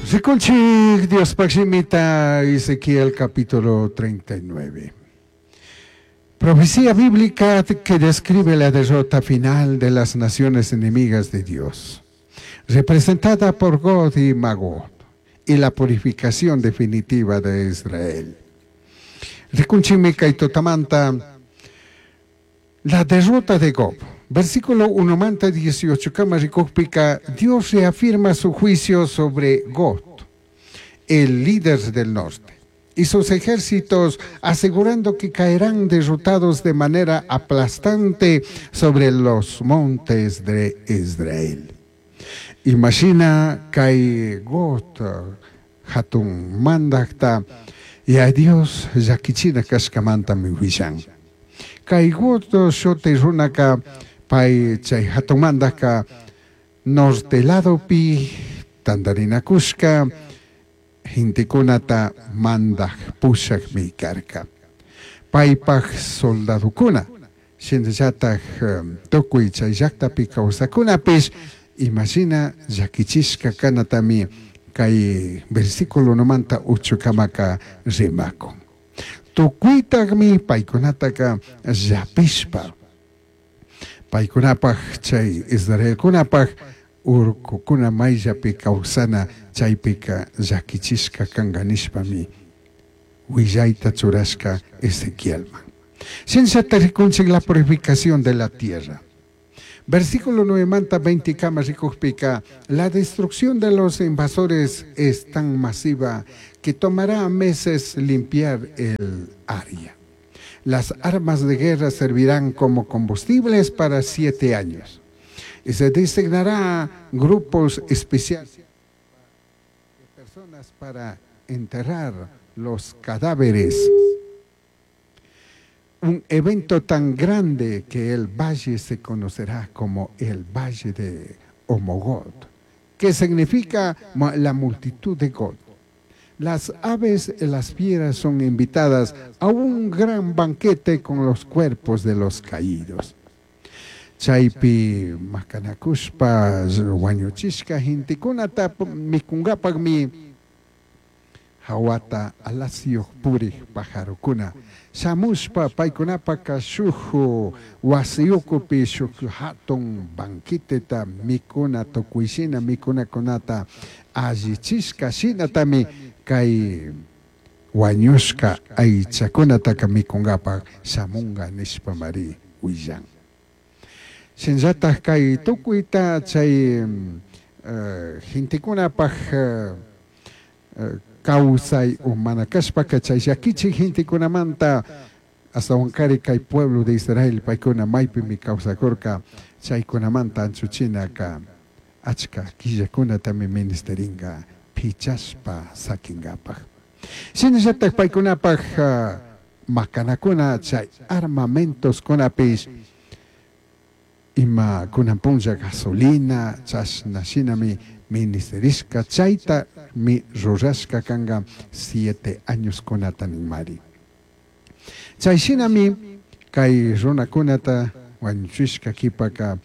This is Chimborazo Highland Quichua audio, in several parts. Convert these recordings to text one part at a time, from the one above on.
Rikunchik Diospaj shimita Ezequiel capítulo 39. Profecía bíblica que describe la derrota final de las naciones enemigas de Dios, representada por Gog y Magog, y la purificación definitiva de Israel. Rikunchikmi kay tutamanta la derrota de Gog. Versículo 1 manta 18 kama rikujpika, Dios reafirma su juicio sobre Gog, el líder del norte, y sus ejércitos, asegurando que caerán derrotados de manera aplastante sobre los montes de Israel. Imagina kay Gog hatun mandajta Yaya Dios llaquichina cashcamantami huillan. Kay Gog shuti runaca pai chay hatun mandajka norte ladopi tandarinacushca gentecunata mandaj pushajmi carca. Paipaj soldadocuna, shinallataj tucui chay llajtapi causacunapish, imashina llaquichishca kanatami kay versículo 1manta 8kamaka rimakun. Tucuitajmi paykunataka llapishpa paykunapaj chay Israelkunapaj urkukuna mayllapi kawsana chaypika llakichishka kanka nishpami willayta churashka Ezequielman. Shinallata rikunchik la purificación de la tierra. Versículo 9 manta 20 kama rikujpika, la destrucción de los invasores es tan masiva que tomará meses limpiar el área. Las armas de guerra servirán como combustibles para 7 años. Y se designará grupos especiales de personas para enterrar los cadáveres. Un evento tan grande que el valle se conocerá como el Valle de Omogot, que significa la multitud de God. Las aves y las fieras son invitadas a un gran banquete con los cuerpos de los caídos. Chaypi macanacushpa wañuchishka gentecunata mikungapakmi hawata alasiyuj purij pajarokuna shamushpa paykunapaka shuk wasiyukupi shuk hatun banqueteta mikuna tukuyshina mikunakunata allichishka shinatami kay wañushka aychakunataka mikungapak shamunga nishpamari willan. Shinallataj kay tukuyta chay gentekunapaj kawsay o mana kashpaka chay llakichik gentekunamanta astawankari kay pueblo de Israel paykuna maypimi kawsakurka chaykunamanta anchuchinaka achka killakunatami ministeringa pichashpa sakingapak. Shinallataj paykunapaj makanakuna chay armamentoskunapish ima kunan punlla gasolina chashna shinami ministerishka chayta mi rurashka kanka 7 años kunata ninmari. Chay shinami kay runakunata wañuchishka kipaka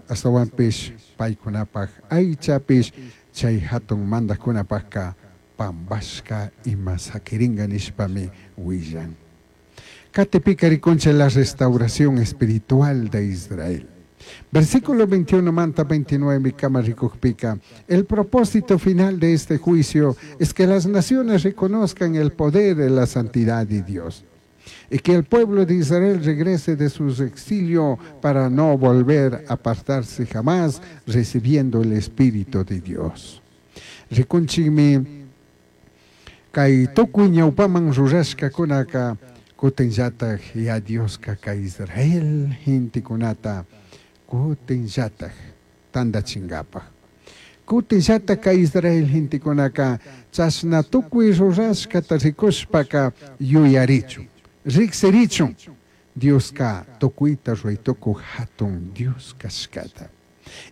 astawanpish paykunapaj aychapish chay hatun mandajkunapajka pambashka ima sakiringa nishpami willan. Katipika rikunchik la restauración espiritual de Israel. Versículo 21 manta 29 kama rikujpika, el propósito final de este juicio es que las naciones reconozcan el poder de la santidad de Dios y que el pueblo de Israel regrese de su exilio para no volver a apartarse jamás, recibiendo el Espíritu de Dios. Rikunchikmi kay tukuy ñawpaman rurashkakunaka kutinllataj ya Dioska kay Israel gentekunata kutinllataj tandachingapaj. Kutinllataj kay Israel gentekunaka chashna tukuy rurashkata rikushpaka yuyarichun, riksirichun Dioska tukuyta ruraytukuj hatun Dios kashkata.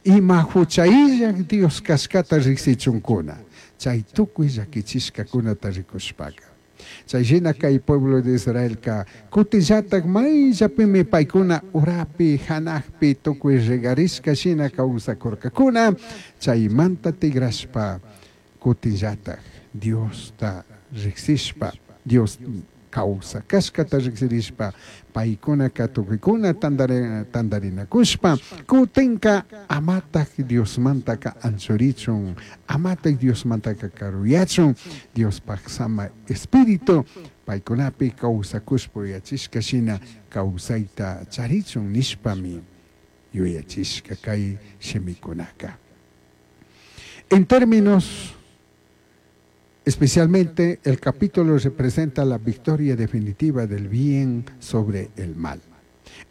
Ima huchayllak Dios kashkata riksichunkuna, chay tukuy llakichishkakunata rikushpaka. Chay shina kay pueblo de Israelka kutinllatak mayllapimi paykuna urapi hanakpi tukuy regarishka shina kawsakurkakuna, chaymanta tigrashpa Cutinllataj Diosta rijsishpa, Dios causa cashcata rijsirishpa, paicunaca tucuicuna tandarinacushpa, cutinca amataj Diosmantaca anchurichun, amataj Diosmantaca caruyachun, Diospaj sama espíritu paicunapi causacushpa yuyachishca shina causaita charichun nishpami yuyachishca kay shimicunaca. En términos, especialmente el capítulo representa la victoria definitiva del bien sobre el mal.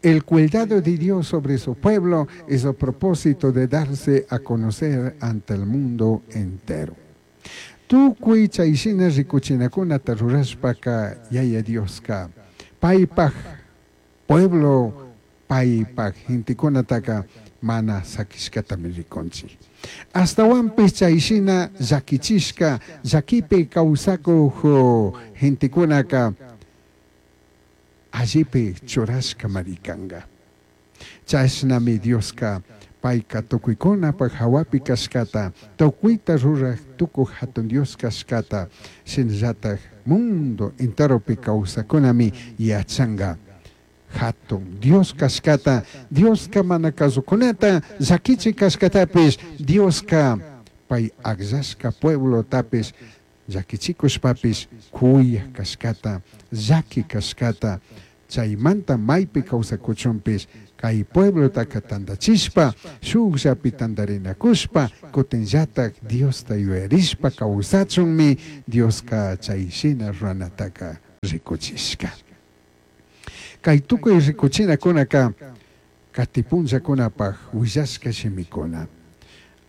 El cuidado de Dios sobre su pueblo y su propósito de darse a conocer ante el mundo entero. Tucui chayshina ricuchinacunata rurashpaca Yaya Dioska paipaj pueblo paipaj gentecunataca mana saquishcatami rikunchik. Ashtahuanpish chayshina llaquichishca llaquipi causacuj gentecunaca allipi churashcamari canga. Chashnami Dioska paica tucuicunapaj jahuapi cashcata, tucuita ruraj tucuj jatun Dios cashcata, shinallataj mundo enteropi causacunami yachanga. Jatun Dios cashcata, Dioska mana kazucunata, llaquichi cashcatapish, Dioska pai agllashca pueblotapish, llaquichikushpapish kuyaj cashcata, llaqui cashcata, chaymanta maypi kawsakuchunpish kay pueblotaka tandachishpa, shukllapi tandarinakushpa, kutinllatak Diosta yuyarishpa kawsachunmi Dioska chay shina ruranataka rikuchishka. Kay tukuy rikuchinakunaka katipunllakunapaj willashka shimikuna.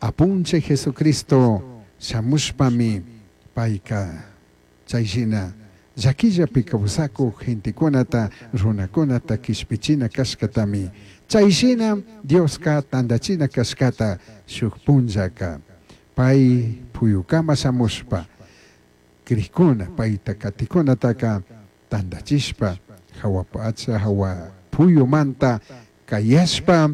Apunchik Jesucristo shamushpami payka chayshina llaquillapi kawsakuj gentekunata runakunata kishpichina kashkatami chayshina Dioska tandachina kashkata shuk punllaka pay puyukama shamushpa krikuna payta katikunataka tandachishpa hawa pacha hawa puyumanta kayashpa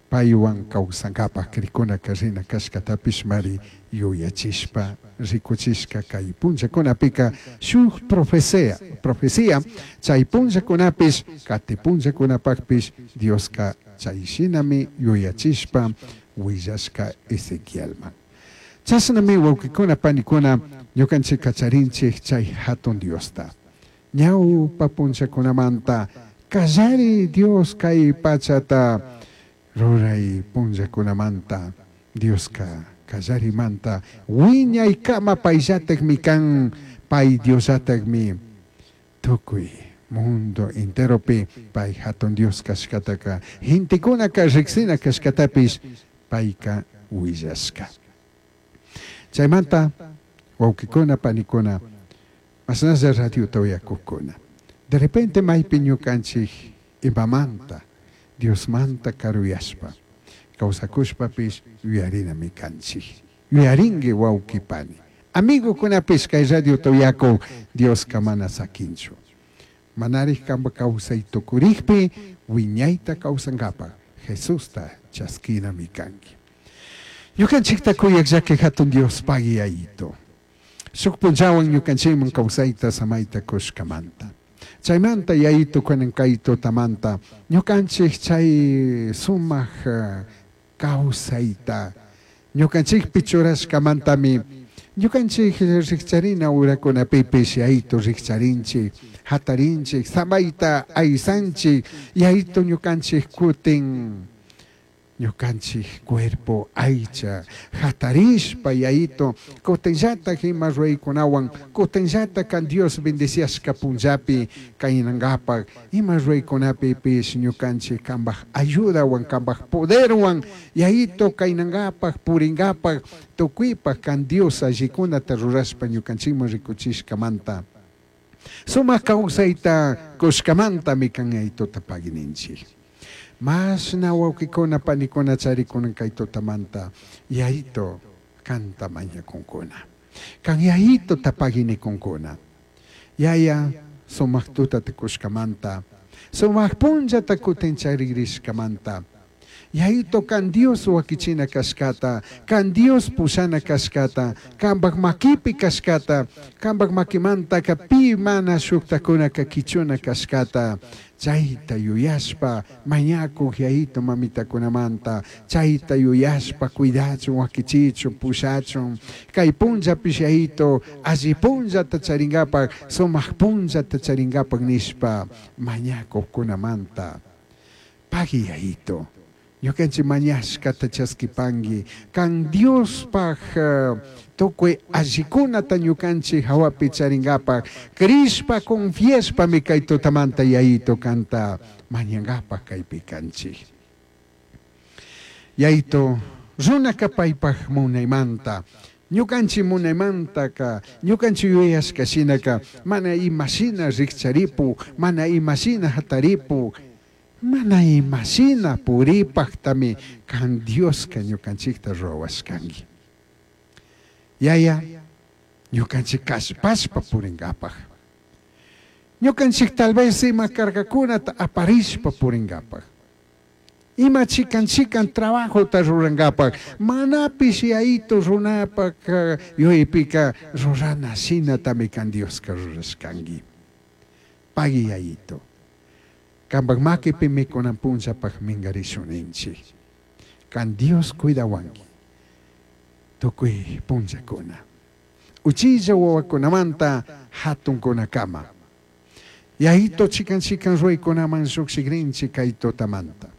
paywan kawsankapaj krikunaka rina kashkatapish mari yuyachishpa rikuchishka kay punllakunapika shuk profecía profecía chay punllakunapish kati punllakunapakpish Dioska chayshinami yuyachishpa willashka Ezequielman. Chashnami wawkikuna panikuna ñukanchik kacharinchik chay hatun Diosta. Ñawpa punllakunamanta kallari Dios kay pachata ruray punllakunamanta Dioska kallarimanta wiñaykama payllatakmi kan pay Diosllatakmi tukuy mundo enteropi pay hatun Dios kashkataka gentekunaka riksina kashkatapish payka willashka. Chaymanta wawkikuna panikuna mashnalla radiota uyakukuna. De repente maypi ñukanchik imamanta Diosmanta karuyashpa kawsakushpapish yuyarinami kanchik. Yuyarinki wawki pani. Amigukunapish kay radiota uyakuk Dioska mana sakinchu. Manarik kanpa kawsay tukurikpi wiñayta kawsankapaj Jesusta chaskinami kanki. Ñukanchikta kuyak llaki hatun Dios pagui yayito. Shuk punllawan ñukanchikman kawsayta samayta kushkamanta. Chaymanta yayito kunan kay tutamanta ñukanchik chay sumaq kawsayta ñukanchikpi churashkamantami ñukanchik rikcharina urakunapipish yayito rikcharinchik hatarinchik samayta aysanchik yayito ñukanchik kutin ñukanchik cuerpo aycha hatarishpa yayito kutinllatak ima ruraykunawan kutinllatak kan Dios bendiciashka punllapi kaynankapaj ima ruraykunapipish ñukanchik kanpaj ayudawan kanpaj poderwan yayito kaynankapaj purinkapaj tukuypaj kan Dios allikunata rurashpa ñukanchikman rikuchishkamanta sumak kawsayta kushkamantami kan yayituta pagininchik. Mashna wawkikuna panikuna charikunan kay tutamanta yayito kanta mañakunkuna. Kan yayito tapaginikunkuna. Yaya sumak tutata kushkamanta sumak punllata kutin charigrishkamanta. Yayito kan Dios wakichina kashkata, kan Dios pushana kashkata, kanpak makipi kashkata, kanpak makimantaka pi mana shuktakunaka kichuna kashkata, chayta yuyashpa mañakuq yayito mamitakunamanta, chayta yuyashpa cuidachun, wakichichun, pushachun, kay punllapish yayito alli punllata charinkapak, sumak punllata charinkapak nishpa mañakuqkunamanta. Pagui yayito, ñukanchik mañashkata chaskipanki, kan Diospaj tukuy allikunata ñukanchik hawapi charinkapak, crishpa confiashpami kay tutamanta yayito kanta mañankapak kaypi kanchik. Yayito, runaka paypaj munaymanta, ñukanchik munaymantaka, ñukanchik yuyashka shinaka, mana imashina rikcharipu, mana imashina hataripu, mana imashina puripaktami kan Dioska ñukanchikta rurawashkanki. Yaya, ñukanchik kallpashpa purinkapak. Ñukanchik tal vez ima cargakunata aparishpa purinkapak. Ima chikan chikan trabajota rurankapak, manapish yayito runapak yuyaypika rurana shinatami kan Dioska rurashkanki. Pagui yayito. Kanpak makipimi kunan punllapak minkarishuninchik. Kan Dios cuidawanki. Tukuy punllakuna. Uchilla wawakunamanta hatunkunakama. Yayito chikan chikan ruraykunaman llukshikrinchik kay tutamanta.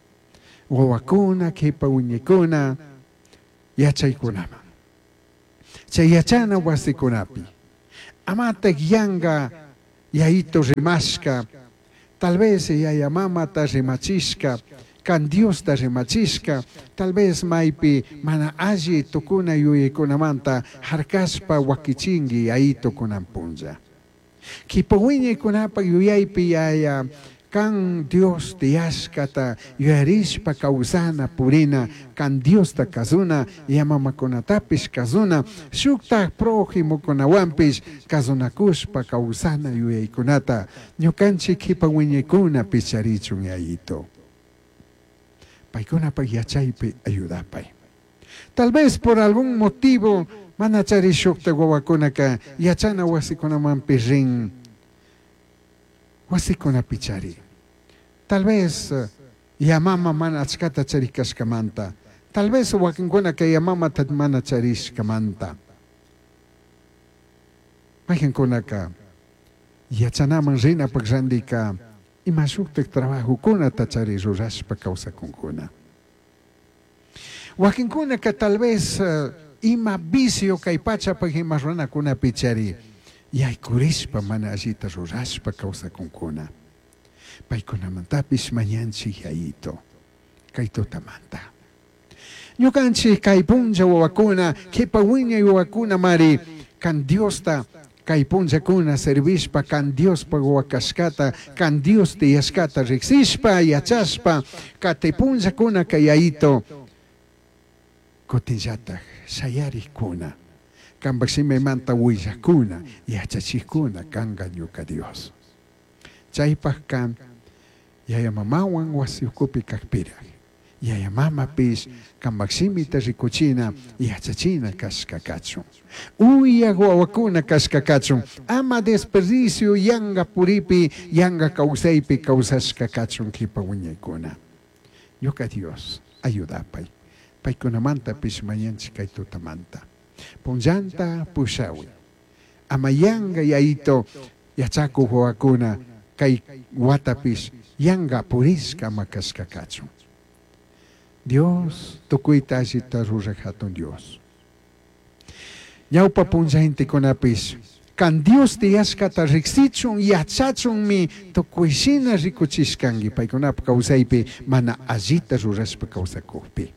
Wawakuna, kipa wiñaykuna, yachaykunaman. Chay yachana wasikunapi. Amatak yanka yayito rimashka, tal vez yaya mamata rimachishka, kan Diosta rimachishka, tal vez maypi mana alli tukuna yuyaykunamanta harkashpa wakichinki yayito kunan punlla. Kipa wiñaykunapak yuyaypi yaya kan Dios tiyashkata yuyarishpa kawsana purina, kan Diosta kazuna, yamamakunatapish kazuna, shuktak prójimokunawanpish kazunakushpa kawsana yuyaykunata ñukanchik kipa wiñaykunapish charichun yayito. Paykunapak yachaypi ayudapay. Tal vez por algún motivo mana chari shukta wawakunaka yachana wasikunamanpish rin, wasikunapi chari. Tal vez yamama mana achkata charikashkamanta, tal vez wakinkunaka yamamata mana charishkamanta. Mayqinkunaka yachanaman rinapak randika ima shuktak trabajokunata chari rurashpa kawsakunkuna. Wakinkunaka tal vez ima vicio kay pachapak ima runakunapi chari yaykurishpa mana allita rurashpa kawsakunkuna. Paykunamantapish mañanchik yayito kay tutamanta. Ñukanchik kay punlla wawakuna, kipa wiñay wawakuna mari kan Diosta kay punllakuna servishpa, kan Diospak wawakashkata, kan Dios tiyashkata riksishpa, yachashpa, katay punllakuna kay yayito kutinllatak shayarikkuna, kanpak shimimanta willakuna, yachachikkuna kanka ñuka Dios. Chaypakka yaya mamawan wasi ukupi kakpirak, yaya mamapish kanpak shimita rikuchina, yachachina kashka kachun. Uyak wawakuna kashka kachun, ama desperdicio yanka puripi, yanka kawsaypi kawsashka kachun kipa wiñaykuna. Ñuka Dios, ayudapay. Paykunamantapish mañanchik kay tutamanta. Punllanta pushawi. Ama yanka yayito yachakuq wawakuna kay watapish yanka purishka ama kashka kachun. Dios tukuyta allita ruraq hatun Dios. Ñawpa punlla gentekunapish kan Dios tiyashkata riksichun yachachunmi tukuyshina rikuchishkanki paykunapak kawsaypi mana allita rurashpa kawsakukpi.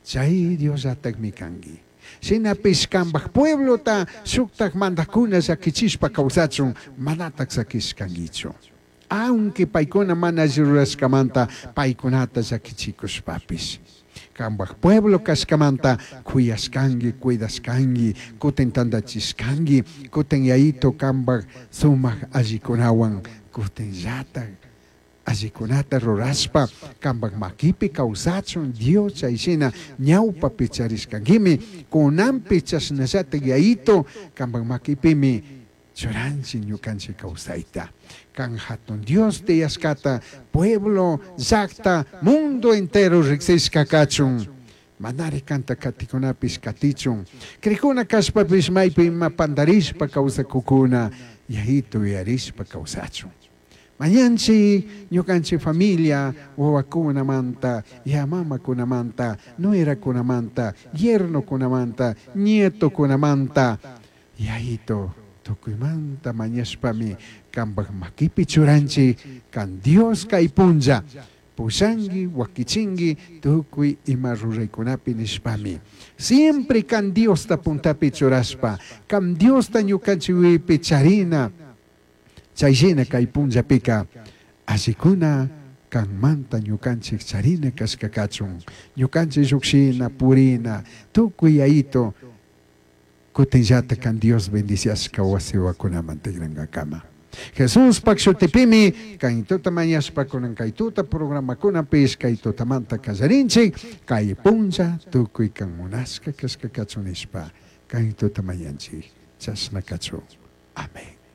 Chay Diosllatakmi kanki. Shinapish kanpak pueblota shuktak mandakuna llakichishpa kawsachun manatak sakishkankichu. Aunque paykuna mana alli rurashkamanta paykunata llakichikushpapish. Kanpak pueblo kashkamanta kuyashkanki, cuidashkanki, kutin tantachishkanki, kutin yayito kanpak sumak allikunawan kutinllatak Allicunata rurashpa cambaj maquipi causachun Dios chay shina ñaupapi charishcanguimi, cunanpi chashnallataj Yayito cambaj maquipimi churanchik ñukanchik causaita. Can jatun Dios tiyashcata pueblo, llajta, mundo entero rigsishca cachun. Manari kanta katikunapish katichun. Crikuna kashpapish maypi ima pandarishpa kawsakukuna Yayito yuyarishpa kawsachun. Mañanchik ñukanchik familia wawakunamanta, ya mamakunamanta, nuerakunamanta, yernokunamanta, nietokunamanta, Yayito tukuymanta mañashpami kambaj maquipi churanchik kan Dios kay punlla pushanki wakichinki tukuy ima ruraykunapi nishpami. Siempre kan Diosta puntapi churashpa, kan Diosta ñukanchik yuyaypi charina, chayshina kay punllapika allikuna kanmanta ñukanchik charina kashka kachun, ñukanchik llukshina, purina, tukuy Yayito kutinllata kan Dios bendiciashka wasiwakunaman tikrankakama. Jesuspaj shutipimi kay tuta mañashpa kunan kay tuta programakunapish kay tutamanta kallarinchik, kay punlla tukuy kan munashka kashka kachun nishpa kay tuta mañanchik, chashna kachun. Amén.